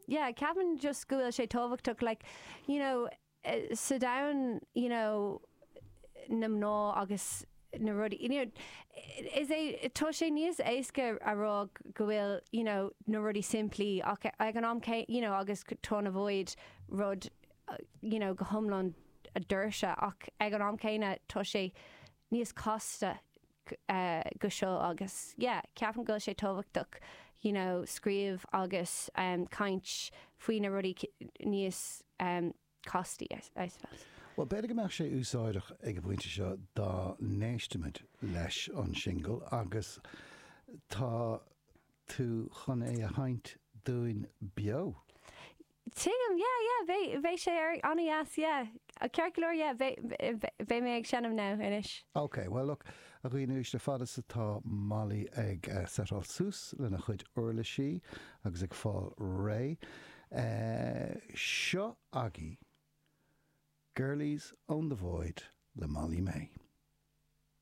yeah, ceapaim just go bhfuil sé tábhachtach, like, you know, sa domhan, you know, na mná agus na rudaí, you know, is é, tá sé níos éasca a rá go bhfuil, you know, na rudaí simplí ach ag an am céanna, you know, agus tá na void rud, you know, go hiomlán doirse ach ag an am céanna tá sé níos casta go seo agus yeah, ceapaim go bhfuil sé tábhachtach, you know, scríobh agus caint faoi na rudaí níos castaí, I suppose. Bhuel, b'fhéidir go mbeadh sé úsáideach ag an bpointe seo dá n-éistfimid leis an singil agus tá tú chun é a sheinnt dúinn beo. Tuigim, yeah, yeah, beidh, beidh sé ar, an-dheas, yeah. Ceart go leor, yeah, beidh, beidh mé ag seinm now, anois. Ok, bhuel look, a dhaoine uaisle, fad is atá Molly ag setáil suas lena chuid uirlisí agus ag fáil réidh, seo agaibh Girlies Own the Void le Molly Mae.